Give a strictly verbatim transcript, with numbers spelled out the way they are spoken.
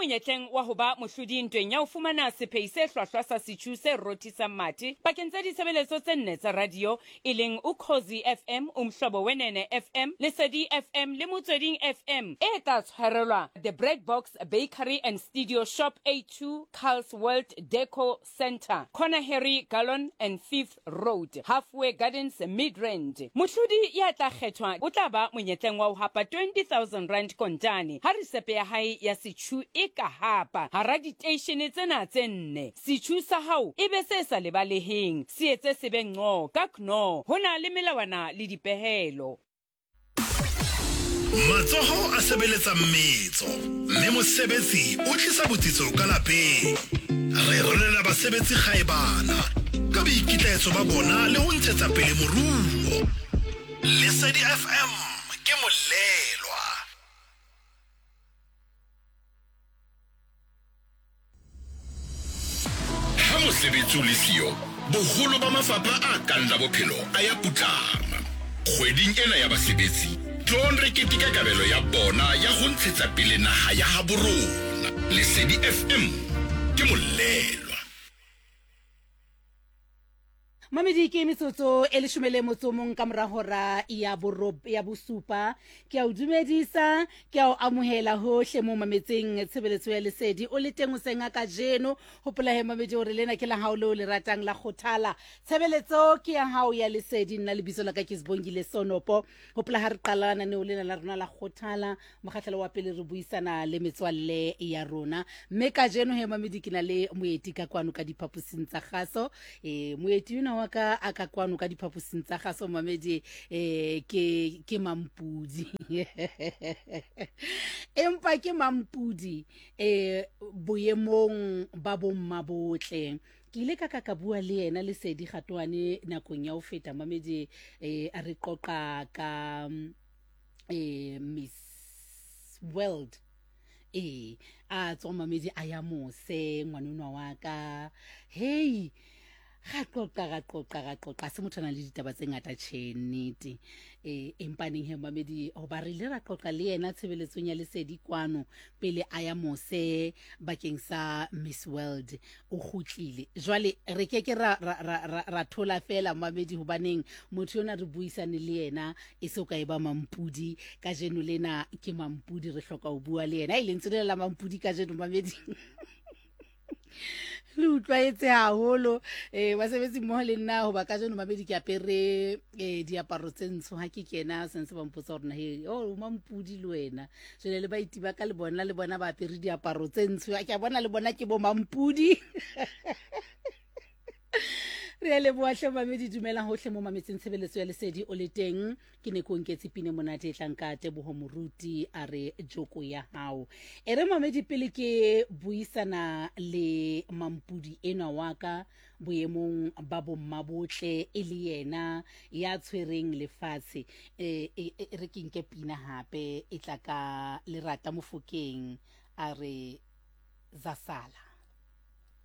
monyetleng wa ho ba mohlodi ntweng ya ho fumana sephei se hlwahlwa sa setjhu se rothisang mathe pakeng tsa ditshebeletso tse nne tsa radio, e leng Ukhozi F M, Umhlobo Wenene F M, Lesedi F M le Motsweding F M, e tla tshwarelwa The Bread Box Bakery and Studio Shop A two, Carl's World Deco Center, Corner Harry Gallon and Fifth Road, Halfway Gardens, Midrand. Mohlodi ya tla kgethwa o tla ba monyetleng wa ho hapa twenty thousand rand kontane ha risepe ya hae ya setjhu e ka hapa hara diteishene tsena tse nne. Setjhu sa hao e be se sa lebaleheng, se etse se be nqo ka kno. Ho na le melawana le dipehelo. Matsoho a sebeletsa mmetso, mme mosebetsi o tlisa botsitso ka lapeng. Re rolela basebetsi kgaebana ka boikitlaetso ba bona le ho ntshetsa pele moruo. Lesedi F M ke molelwa. Ha mosebetsi o le siyo, boholo ba mafapha a kang la bophelo a ya putlama. Kgweding ena ya basebetsi, tloong re keteka kabelo ya bona ya ho ntshetsa pele naha ya habo rona. Lesedi F M ke molelwa. Mamedi ke metsotso e leshome le motso o mong ka mora hora ya borob ya bosupa. Ke a o dumedisa, ke a o amohela hohle mo mametseng tshebeletso ya Lesedi. O le teng hoseng a kajeno. Hopola he mamedi hore lena ke la hao leo le ratang la kgothala. Tshebeletso ke ya hao ya Lesedi. Nna lebitso la ka ke Sibongile Sonopo. Hopola ha re qala lenaneo lena la rona la kgothala, mokgahlelo wa pele re buisana le metswalle ya rona. Mme kajeno he mamedi ke na le moeti ka kwano ka diphaposing tsa kgaso. Eh moeti ona wa ka a ka kwano ka diphaposing tsa kgaso mamedi eh ke ke Mampudi. Empa ke Mampudi eh boemong ba bomma botle. Ke ile ka ka ka bua le yena Lesedi Kgatoane nakong ya ho feta mamedi eh a re qoqa ka eh Miss World. Eh a tswa mamedi a ya mose ngwanonwa wa ka. Hey, ga qoqa ga qoqa ga qoqa se motho a nang le ditaba tse ngata tjhe nnete. Eh empa neng he mamedi hoba re ile ra qoqa le yena tshebeletsong ya Lesedi kwano pele a ya mose bakeng sa Miss World. O kgutlile jwale re ke ke ra ra ra ra thola fela mamedi hobaneng motho yona re buisane le yena e se o ka e ba Mampudi. Kajeno lena ke Mampudi, re hloka ho bua le yena. E lentswe le la Mampudi kajeno mamedi le utlwaetse haholo. Eh basebetsi mmoho le nna hoba kajeno mamedi ke apere eh diaparo tse ntsho. Ha ke kena sentse ba mpotsa hore na he o Mampudi le wena. Jwale le baeti ba ka le bona le bona ba apere diaparo tse ntsho. Ke a bona le bona ke bo Mampudi. Re a leboha hle mamedi, dumelang hohle mo mametseng tshebeletso ya Lesedi o le teng. Ke ne ko nketse pine monate e tlang ka Teboho Moruti a re joko ya hao. E re mamedi pele ke buisana le Mampudi enwa wa ka boemong ba bomma botle e le yena ya tshwereng lefatshe. E re ke nke pina hape e tla ka Lerata Mofokeng a re Zasala.